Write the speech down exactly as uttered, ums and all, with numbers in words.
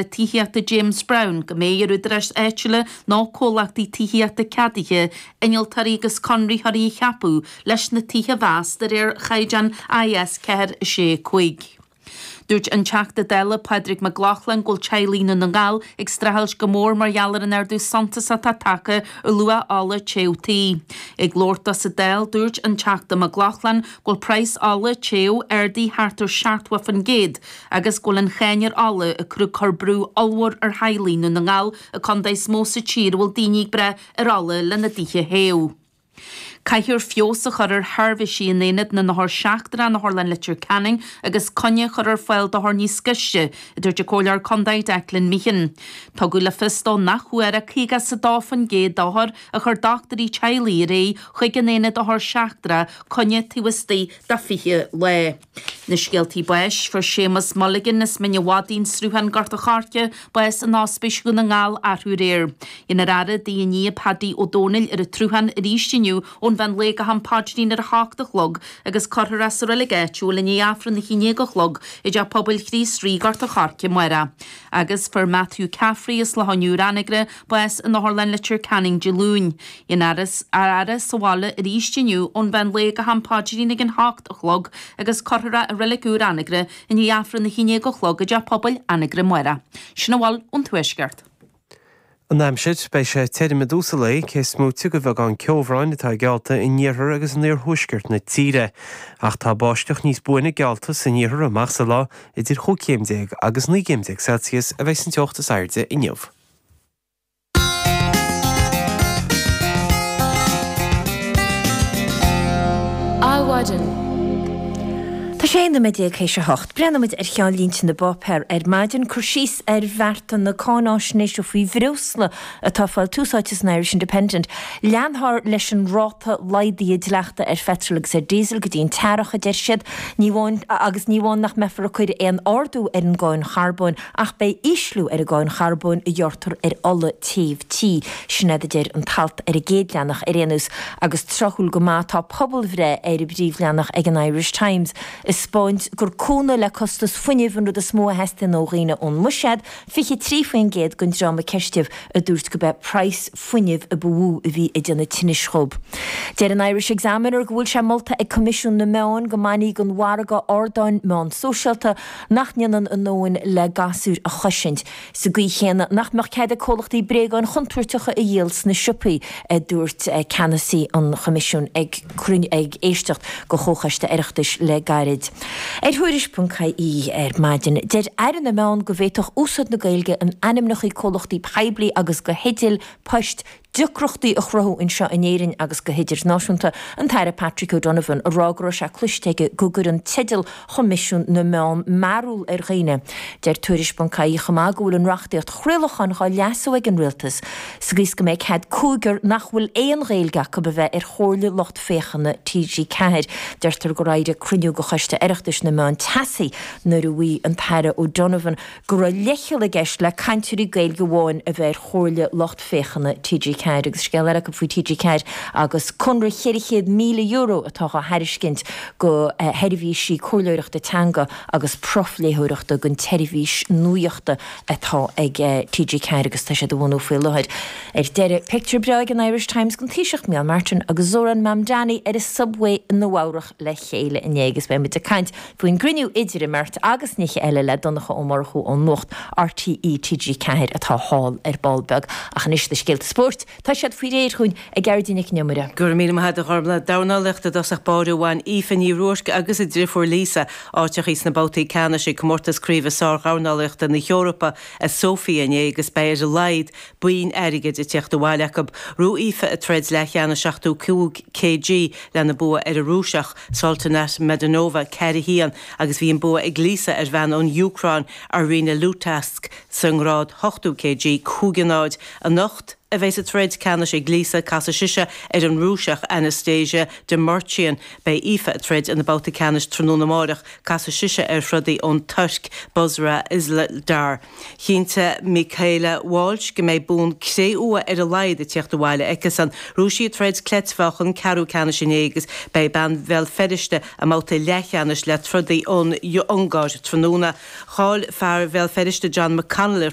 Tithíochta James Browne go mbeidh ar údaráis áitiúla nó comhlachtaí tithíochta ceadaithe innealtóirí agus conraitheoirí a cheapadh leis na tithe a mheas de réir chaighdeán I S ceathair sé cúig. Dúirt an Teachta Dála Pádraig Mac Lochlainn go bhfuil teaghlaigh Dhún na nGall ag streachailt go mór mar gheall ar an ardú suntasach atá tagtha ar luach ola téamh tí. Ag labhairt dó sa Dáil, dúirt an Teachta Mac Lochlainn go bhfuil praghas ola téamh ardaithe thart ar seachtó faoin gcéad agus go bhfuil an cháin ar ola ag cur cur brú ollmhór ar theaghlaigh Dhún na nGall, an contae is mó sa tír a bhfuil daoine ag brath ar ola lena dtithe a théamh. Caithfear feabhas a chur ar sheirbhísí in aonad na n-othar seachtrach in Otharlann Leitir Ceanainn agus coinne a chur ar fáil d'othair níos gaiste, a dúirt an Comhairleoir Contae Declan Meehan. Tugadh le fios dó nach bhfuair ach caoga is a dó faoin gcéad d'othair a chuir dochtúirí teaghlaigh ar aghaidh chuig an aonad othar seachtrach coinne taobh istigh de fiche lá. Na scéaltaí báis: fuair Séamus Mulligan as Mín an Mhadaidh, An Sruthán, Gort an Choirce, bás in Ospís Dhún na nGall arú aréir. Déanfar faire i dtigh a nia Paddy Ó Dónaill ar an tSruthán arís inniu ón mheán lae go ham paidrín ar a hocht a chlog agus cuirfear é sa reilig áitiúil i ndiaidh Aifreann a haon déag a chlog i dTeach Pobail Chríost Rí, Gort an Choirce amárach. Agus fuair Matthew Caffrey as Loch an Iúir, Anagaire, bás in Otharlann Leitir Ceanainn Dé Luain. Déanfar a fhaire sa bhaile arís inniu ón mheán lae go ham paidrín ag an hocht a chlog agus cuirfear é i reilig úr Anagaire i ndiaidh Aifreann a haon déag a chlog i dTeach Pobail Anagaire amárach. Sin a bhfuil ón Tuaisceart. An aimsir: beidh sé tirim i dtús an lae, cé is móite de bheagán ceobhráin atá geallta in iarthar agus in iarthuaisceart na tíre. Ach tá báisteach níos buaine geallta san iarthar amach sa lá. Idir chúig chéim déag agus naoi gcéim déag Celsius a bheidh an teocht is airde inniu. Adhmhaidin. Tá sé aon nóiméad déag théis a hocht. Breathnóimid ar cheannlínte na bpáipéar ar maidin. Cur síos ar bhearta na cáináisnéise faoi bhreosla atá ag fáil tús áite san Irish Independent. Leanfar leis an ráta laghdaithe dleachta ar pheitreal agus ar diesel go dtí an t-earrach, a deir siad. Ní amháin agus ní amháin nach mbeifear ag cur aon ardú ar an gcáin charbóin ach beidh ísliú ar an gcáin charbóin a ghearrtar ar ola téimh tí. Sin é a deir an t-alt ar an gcéad leathanach ar aon nós. Agus tráthúil go maith tá pobalbhreith ar an bpríomhleathanach ag an Irish Times ag 'spáint gur cúnamh le costas fuinnimh an rud is mó a theastaíonn ó dhaoine ón mbuiséad, fiche trí faoin gcéad den dream a ceistíodh a dúirt go b'é praghas fuinnimh a ba mhó a bhí ag déanamh tinnis dhóibh. Deir an Irish Examiner go bhfuil sé molta ag Coimisiún na Meán go mbainfí den mhargadh ardáin meán sóisialta nach ndéanann a ndóthain le gasúir a chosaint. Sa gcaoi chéanna nach mbeadh cead ag comhlachtaí bréagáin chontúirteacha a dhíol sna siopaí, a dúirt ceannasaí an Choimisiúin ag cruinniú ag éisteacht go Chomhchoiste Oireachtais le gairid. Ar Thuairisc ponc I E ar maidin, deir Aire na Meán go bhféadfadh úsáid na Gaeilge in ainmneacha comhlachtaí poiblí agus do theidil poist deacrachtaí a chruthú anseo in Éirinn agus go hidirnáisiúnta. An tAire Patrick O'Donovan a rá go raibh sé cloiste aige go gcuireann teideal Choimisiún na Meán mearbhall ar dhaoine. Deir Tuairisc ponc I E chomh maith go bhfuil an reachtaíocht chraolacháin á leasú ag an rialtas sa gcaoi is go mbeidh cead cúigear nach bhfuil aon Ghaeilge acu a bheith ar chomhairle lucht féachana T G Ceathair. Deirtear gur éirigh cruinniú de Choiste Oireachtais na Meán teasaí nuair a mhaígh an tAire O'Donovan go raibh leithcheal i gceist le cainteoirí Gaeilge amháin a bheith ar chomhairle lucht féachana T G Ceathair. Agus scéal eile acu faoi T G Ceathair agus conradh ceithre chéad míle euro atá á thairiscint go sheirbhísí comhairleoireachta teanga agus profléitheoireachta don tseirbhís nuachta atá ag T G Ceathair agus tá siad a bhunú faoi láthair. Ar deireadh, pictiúr breá ag an Irish Times den Taoiseach Micheál Martin agus Zohran Mamdani ar an subway i Nua-Eabhrac le chéile inné agus beimid ag caint faoin gcruinniú idir an mbeirt agus nithe eile le Donncha Ó Murchú ón Nuacht R T E T G Ceathair atá thall ar ball beag. Ach anois na scéalta spóirt, tá siad faoi réir chugainn ag Gearóidín Nic an Iomaire. Go raibh míle maith agat, a Ghormfhlaith. Dornálaíocht i dtosach báire. Bhain Aoife Ní Ruairc agus a deirfiúr Lisa áiteachaí sna babhtaí ceannais ag comórtas craoibhe sárdhornálaíochta na hEorpa i Sofia inné agus beidh ar a laghad boinn airgid ag teacht abhaile acu. Ghnóthaigh Aoife a troid leathcheannais seachtó cúig K G lena bua ar an Rúiseach Sultanat Medanova ceathair a haon agus bhí an bua ag Lisa ar bhean ón Úcráin Arina Lutask sa ngrád ochtó K G cúig a náid. Anocht a bheidh sa troid ceannais ag Lisa, casfaidh sise ar an Rúiseach Anastasia Demirchian. Beidh Aoife ag troid ina babhta ceannais tráthnóna amárach, casfaidh sise ar throdaí ón Tuirc, Busra Izlar. Chinntigh Michaela Walsh go mbeidh bonn cré-umha ar a laghad ag tíocht abhaile aici-san. Bhuaigh sí a troid cleitmheáchan ceathrú ceannais inné agus beidh bean Bhéal Feirste i mbabhta leathcheannais le trodaí ón Ungáir tráthnóna. Chaill fear Bhéal Feirste John McConnell ar